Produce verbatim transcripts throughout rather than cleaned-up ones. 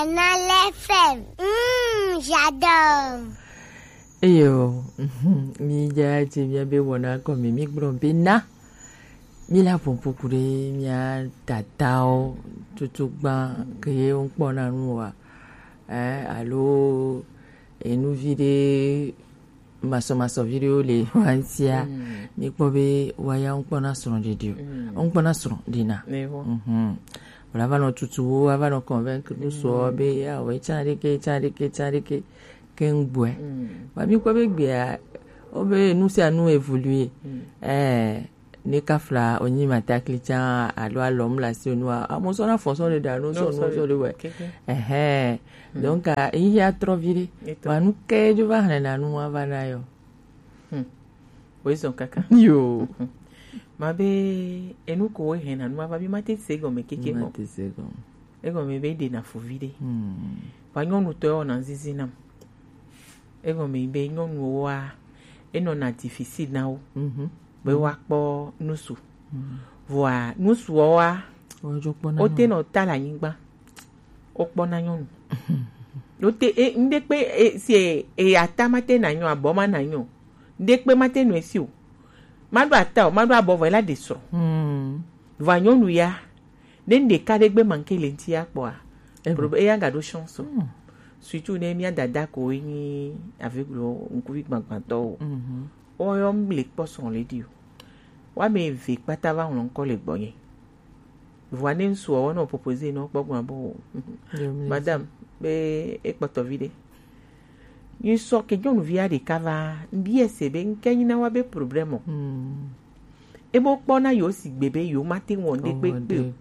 Canal F M. Mm, j'adore. Eyo, mhm, mi ja je mi be wona ko mi mi gbro be na. Mi la pon poku de mi a tatao tutu gban ke ye un kpɔ na nu wa. Eh, alo enu vi de masɔ masɔ vi de wo le wantia. Mm. Mi kpɔ be wa ya un kpɔ na srɔ̃ de dio. Mm. Un kpɔ na srɔ̃ de na. Mhm. Wala va nɔ tutu wo, ava nɔ convaincre nu sɔ be ya wo etsa de ke, etsa de ke, etsa de ke. Ke ŋgbɔe. Mm. Ba mi kpɔ be gbea, wo be nu sia nu évoluer. Mm. Eh, ne ka fla o nyi matakli tsa alo alɔm la si o nua, amo sɔ na fɔ sɔ de da nu sɔ nu sɔ de wɛ. Keke. Ɛhɛn. Mm. Donc, a, yi ya trɔ vi de. Eto. Wa nu ke jo va hɛn na nu wa va na yo. Hmm. Woezɔn kaka. Yo. Mhm. Ma be enu ko wo hɛn na nu wa va bi ma te se gɔme keke gɔ. Ma te se gɔme. Egɔme be de na fo vi de. Hmm. Wa nyɔnu tɔ yo na zizi nam. Egɔme be nyɔnuwo wa, enɔna difficile na wo. Mhm. Be woakpɔ nusu. Mhm. Vɔa nusuɔ wa, wote nɔ ta le anyigba. Wokpɔna nyɔnu. Wote, e, ŋɖe kpe, e, si e, e, ata ma te na nyɔ, abɔ ma na nyɔ. Ŋɖe kpe ma te nɔ esi o. Ma ɖo ata o, ma ɖo abɔ vɔ, ela ɖe srɔ̃. Hmm. Vɔa nyɔnu ya, ne ŋɖeka ɖe gbe manke le ŋti ya kpɔa, prob-, eya ga ɖo chance o. Hmm. Surtout ne mia dada ko enyi aveugle o, ŋkuvi gbagbãtɔ o. Mhm. Woyɔ mle kpɔ srɔ̃ le ɖi o. Woame eve kpata va ŋlɔ ŋkɔ le gbɔnye. Vɔa ne ŋsuɔ wɔ nɔ proposer nɔ kpɔ gbɔn abo. Madame, be ekpɔtɔ vi ɖe. Nyi sɔ ke nyɔnuvia ɖeka va, ŋbi ese be ŋke nyi na wa be problème o. Hmm. Ebo kpɔ na yo sigbe be yo ma te wɔ ŋɖe kpekpe o.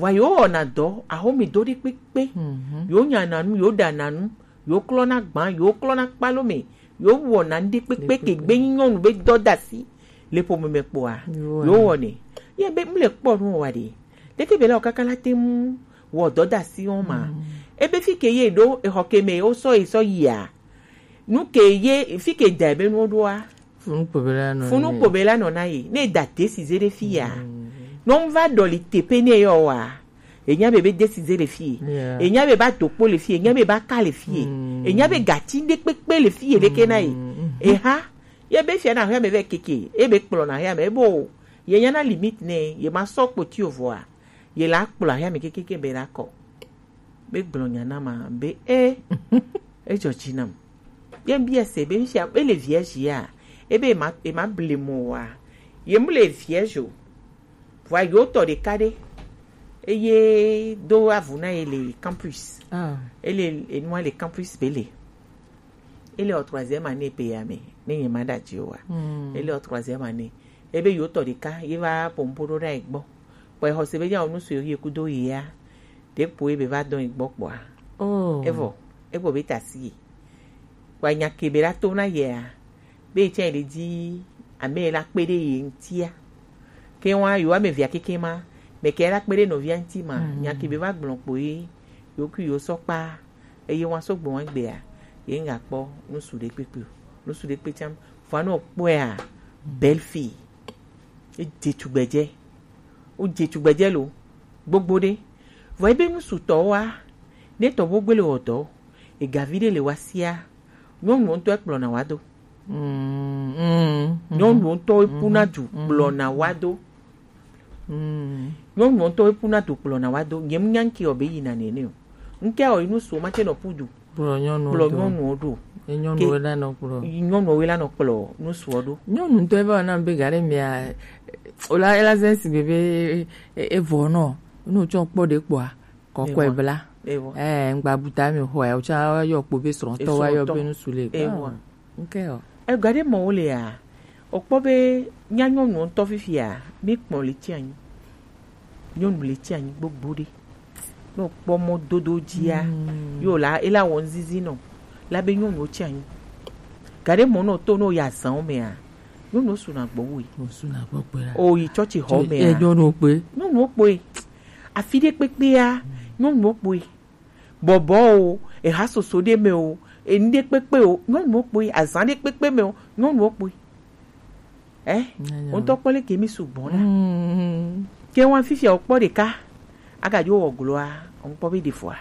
Vɔa yo wɔna dɔ, ahome dɔ ɖe kpekpe. Mhm. Yo nyana nu, yo ɖana nu, yo klɔna gbã, yo klɔna kpalo me, yo wɔna ŋɖe kpekpe ke gbe nyi nyɔnu be dɔdasi le ƒome me kpɔa, yo wɔnɛ. Ye be mle kpɔ nu wa ɖe. Ɖeke be la o kaka la te mu wɔ dɔdasi wɔn ma. Mm. Ebe fi ke ye ɖo, exɔ ke me wo sɔ ye sɔ yia. Nu ke ye fi ke da be nu ɖoa. Funu kpo be la nɔ. Funu kpo be la nɔ na ye. Ne da te si ze ɖe fi ya. Mm. Nɔ va ɖɔli tepe ne yɔ wa. Enya be be desi ze le fie. Yeah. Enya be ba dokpo le fie. Enya be ba ka le fie. Mm. Enya be gati ɖe kpekpe le fie ɖeke na ye. Mm. Eha. Ye be fia na hia me ve keke. E be kplɔ na hia me. E bo. Ye nya na limite ne. Ye ma sɔ kpoti o vɔa. Ye la kplɔ hia me keke ke be la kɔ. Be gblɔ nya na ma. Be e. E dzɔ dzi nam. Ye bi ese be fia. E le vierge ya. E be e ma, e ma ble mo wa. Ye mu le vierge o. Vɔa yo tɔ ɖeka ɖe, eye do avu na ye le campus. Ah. Ele enua le campus be le. Ele o troisième année pe ya me, ne ye ma da dzi o wa. Hmm. Ele o troisième année. Ebe yo tɔ ɖeka, ye va pompo ɖo ɖa egbɔ. Kpɔ exɔ se be nya o nu so ye kudo ye ya. Ɖe kpo ebe va dɔn egbɔ kpɔa. Oh. Evɔ, egbɔ be ta si ye. Kpɔ nya ke be la to na ye a. Be etsɛ ɖe dzi ame la kpe ɖe ye ŋtia. Ke wa yo ame via keke ma, me ke la kpe ɖe nɔvia ŋti ma, mm, nya ke be va gblɔ kpo ye, yo kui yo sɔ kpa, eye wa sɔ gbɔ wa gbea, ye ŋga kpɔ nusu ɖe kpekpe o. Nusu ɖe kpe tsam, vɔ anɔ kpɔe a, belle fille. E dze tugbedze. Wo dze tugbedze lo, gbogbo ɖe. Vɔ ebe nusu tɔ wa, ne tɔ bo gbele wɔ dɔ, egavi ɖe le wa sia, nyɔnu ŋutɔ ekplɔna wa do. Mm, mm, mm. Nyɔnu ŋutɔ epuna du kplɔna wa do. Mm. Nyɔnu ŋutɔ epuna du kplɔna wa do. Nye mu nya ŋke o be yina nene o. Ŋke o inu so ma te nɔ pu du. Kplɔ nyɔnu kplɔ do. Nyɔnu do. Ye nyɔnu ke we la nɔ kplɔ. Nyɔnu we la nɔ kplɔ nusu do. Nyɔnu ŋutɔ eva na be gare mia, o la, ela zɛ si be be, e, e vɔ nɔ. Nu tsɔ kpɔ ɖe kpɔa. Kɔkɔe bla. Ewa. Eh, ŋgba buta mi xɔ ya, o tsa yɔ kpo be srɔ̃tɔ wa yɔ be nusu le. Ewa. Ah, ok o. Ega ɖe mɔ wo le ya. O kpɔ be nya nyɔnu ŋutɔ fifia, mi kpɔ le tsi anyi. Nyɔnu le tsi anyi gbogbo ɖe. Ne o kpɔ mɔ dodo dzia, mm, yo la, ela wɔ nzizi nɔ. La be nyɔnu tsi anyi. Ga ɖe mɔ nɔ to no ya zan o mea. Nyɔnu suna gbɔ wo yi. O suna gbɔ kpe la. O yi tsɔtsi xɔ mea. E nyɔnu kpe. Nyɔnu kpe. Afi ɖe kpekpea, nyɔnuwo kpoe. Bɔbɔ o, eha soso ɖe me o, enu ɖe kpekpe o, nyɔnuwo kpoe. Azan ɖe kpekpe me o, nyɔnuwo kpoe. Eh, o ŋutɔ kpɔ leke mi sugbɔ la. Mm. Ke wa fifia o kpɔ ɖeka, aga dzo wɔ gloa, o ŋkpɔ be ɖe fɔa.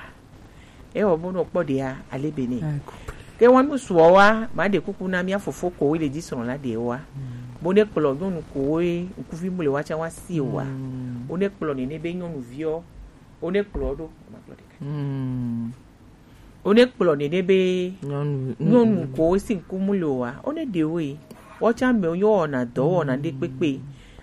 Ewɔ bo nɔ kpɔ ɖea ale be ne. Ke wa nu suɔ wa, ma ɖe kuku na mía fofo ko le dzi srɔ̃ la ɖe wa. Bo ne kplɔ nyɔnu ko we ŋkuvi mu le wa tsa wa si o wa. Wo ne kplɔ nene be nyɔnuviɔ, wo ne kplɔ ɖo, ma kplɔ ɖeka. Wo ne kplɔ nene be nyɔnu ko we si ŋku mu le o wa, wo ne ɖe wo yi. Wo tsa me wo nyɔ wɔna dɔ wɔna ɖe kpekpe.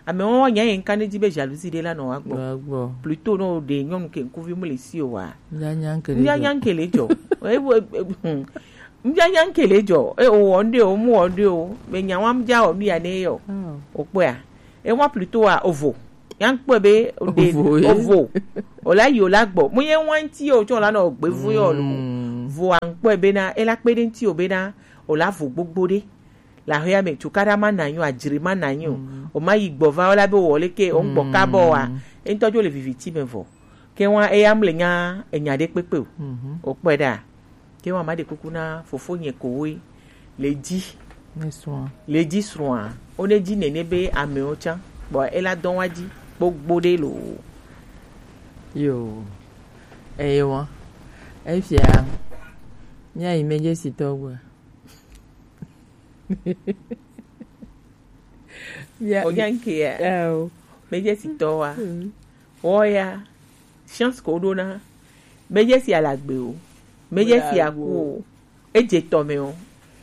Ame wɔn nya yẹn ka ne dzi be jalousie ɖe la nɔ wa gbɔ. Plutôt nɔ ɖe nyɔnu ke ŋkuvi mu le si o wa. Nya nya ŋke le jɔ. Nya nya ŋke le jɔ. Ewo, e, e, hmm. Ŋdza nya ŋke le jɔ. E o wɔ ŋɖe o, mu wɔ ŋɖe o. Me nya wa ŋdza wɔ nu ya ne yɔ. O kpɔa. E wa plutôt a ovo. Nya ŋkpɔe be o ɖe ovo. O la yi o la gbɔ. Mu ye wa ŋti o tsɔ la nɔ gbe vu yɔ lo. Vo a ŋkpɔe be na, e la kpe ɖe ŋti o be na, o la vo gbogbo ɖe. Le axɔa me, cukaɖa ma nɔ anyi o, adzri ma nɔ anyi o. O ma yi gbɔ va o la be wɔ leke, o ŋgbɔ kabɔ wa. E ŋutɔ dzo le viviti me vɔ. Ke wa eya mle nya enya ɖe kpekpe o. O kpɔe ɖa. Ke wa ma ɖe kuku na fofo nye ko woe. Le dzi. Le dzi srɔ̃a. O ne dzi nene be amewo tsã. Bɔ e la dɔn wa dzi. Gbogbo ɖe lo. Yo. Eye wa. Efia. Mía yi medze si tɔ gbɔa. Onya ŋkea. Medze si tɔ wa. Wɔ ya. Chance ko ɖo na. Medze si alagbe o. Medze si aku o. Edze tɔ me o.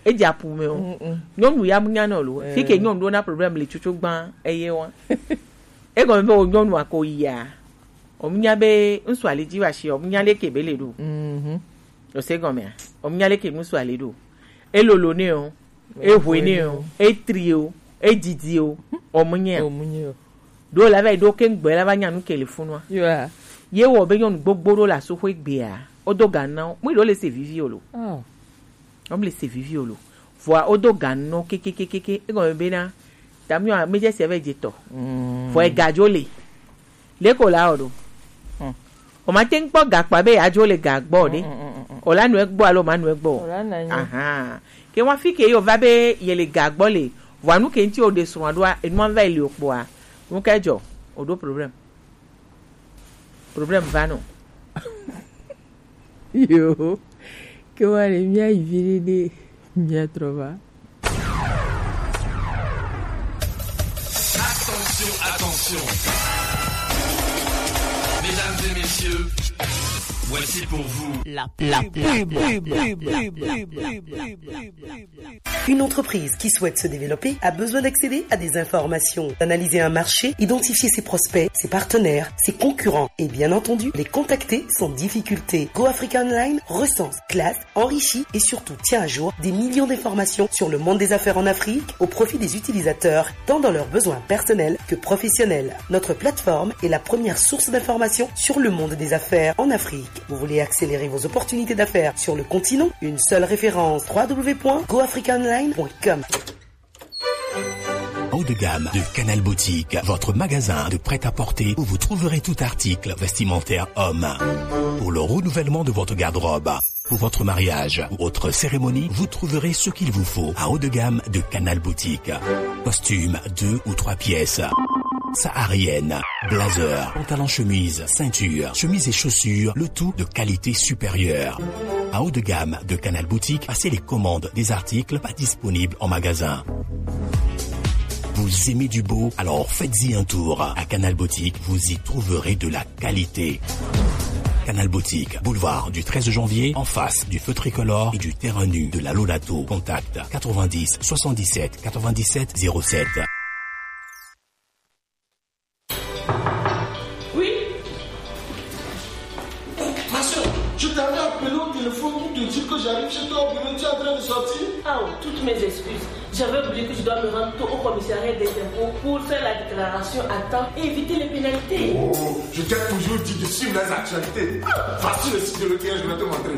Edze apu me o. Nyɔnu ya mu nya nɔ lo. Fi ke nyɔnu ɖo na problème le tsotso gbã eye wa. Egɔme be o nyɔnu ako yia. O mu nya be ŋsu ali dzi wa shi o mu nya leke be le ɖo. O se gɔmea? O mu nya leke ŋsu ali ɖo. E lolo ne o. E hwe ne o. E tri o. E didi o. O mu nya. Ɖo la va yi ɖo ke ŋgbɛ la va nya nu ke le funua. Ye wɔ be nyɔnu gbogbo ɖo le asoxo egbea. O do ga na o. Mu yi ɖo le se vivi o lo. O mu le se vivi o lo. Vɔa o do ga nɔ kekekekeke. Egɔme be na. Tamio a medze se ve dze tɔ. Vɔ e ga dzo le. Leko la o ɖo. O ma te ŋkpɔ gakpa be yeadzo le ga gbɔ o ɖe. O la nɔe gbɔ alo ma nɔe gbɔ o? Ahan. Ke wa fi ke yo va be ye le ga gbɔ le. Vɔa nu ke ŋti o ɖe srɔ̃a ɖoa, enua va yi le o kpɔa. Nu ke dzɔ? O ɖo problème. Problème va nɔ. Yo. Ke wa le mía yi vi ɖe ɖe mía trɔ va. Attention, attention. Mesdames et messieurs, voici pour vous la pub. La pub. Une entreprise qui souhaite se développer a besoin d'accéder à des informations, d'analyser un marché, identifier ses prospects, ses partenaires, ses concurrents et bien entendu les contacter sans difficulté. Go Africa Online recense, classe, enrichit et surtout tient à jour des millions d'informations sur le monde des affaires en Afrique au profit des utilisateurs, tant dans leurs besoins personnels que professionnels. Notre plateforme est la première source d'information sur le monde des affaires en Afrique. Vous voulez accélérer vos opportunités d'affaires sur le continent ? Une seule référence, trois w point go africa online point com. Haut de gamme de Canal Boutique, votre magasin de prêt-à-porter où vous trouverez tout article vestimentaire homme. Pour le renouvellement de votre garde-robe, pour votre mariage ou autre cérémonie, vous trouverez ce qu'il vous faut à haut de gamme de Canal Boutique. Costume deux ou trois pièces, saharienne, blazer, pantalon chemise, ceinture, chemise et chaussures, le tout de qualité supérieure. À haut de gamme de Canal Boutique, passez les commandes des articles pas disponibles en magasin. Vous aimez du beau ? Alors faites-y un tour. À Canal Boutique, vous y trouverez de la qualité. Canal Boutique, boulevard du treize janvier, en face du feu tricolore et du terrain nu de la Lolato. Contact quatre-vingt-dix soixante-dix-sept quatre-vingt-dix-sept zéro sept. Oui ? Oh, ma soeur, je t'avais appelé au téléphone pour te dire que j'arrive chez toi au bureau, tu es en train de sortir ? Ah, oh, toutes mes excuses. J'avais oublié que je dois me rendre tôt au commissariat des impôts pour faire la déclaration à temps et éviter les pénalités. Oh, je t'ai toujours dit de suivre les actualités. Voici le site de l'O T R, je vais te montrer.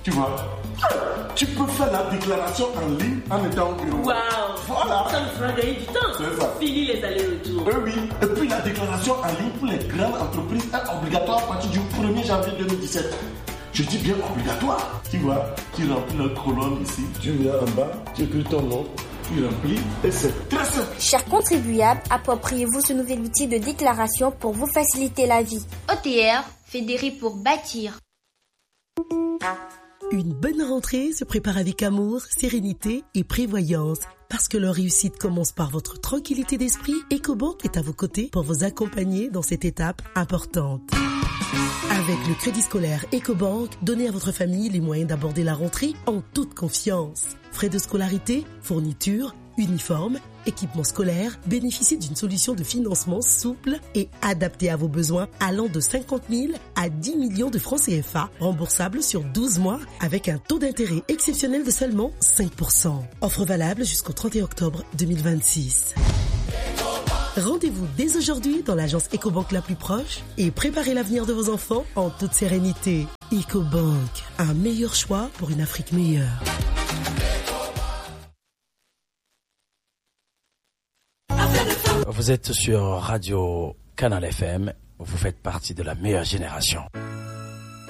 Tu vois, tu peux faire la déclaration en ligne en étant au bureau. Waouh. Voilà. Ça me fera gagner du temps. C'est ça. Fini les allers-retours. Eh oui. Et puis la déclaration en ligne pour les grandes entreprises est obligatoire à partir du premier janvier deux mille dix-sept. Je dis bien obligatoire. Tu vois, tu remplis la colonne ici, tu viens en bas, tu écris ton nom, tu remplis et c'est très simple. Chers contribuables, appropriez-vous ce nouvel outil de déclaration pour vous faciliter la vie. O T R, Fédérer pour bâtir. Une bonne rentrée se prépare avec amour, sérénité et prévoyance. Parce que leur réussite commence par votre tranquillité d'esprit, EcoBank est à vos côtés pour vous accompagner dans cette étape importante. Avec le crédit scolaire EcoBank, donnez à votre famille les moyens d'aborder la rentrée en toute confiance. Frais de scolarité, fourniture, uniforme, équipement scolaire, bénéficiez d'une solution de financement souple et adaptée à vos besoins allant de cinquante mille à dix millions de francs C F A, remboursable sur douze mois avec un taux d'intérêt exceptionnel de seulement cinq pour cent. Offre valable jusqu'au trente et un octobre deux mille vingt-six. Rendez-vous dès aujourd'hui dans l'agence EcoBank la plus proche et préparez l'avenir de vos enfants en toute sérénité. EcoBank, un meilleur choix pour une Afrique meilleure. Vous êtes sur Radio Canal F M, vous faites partie de la meilleure génération.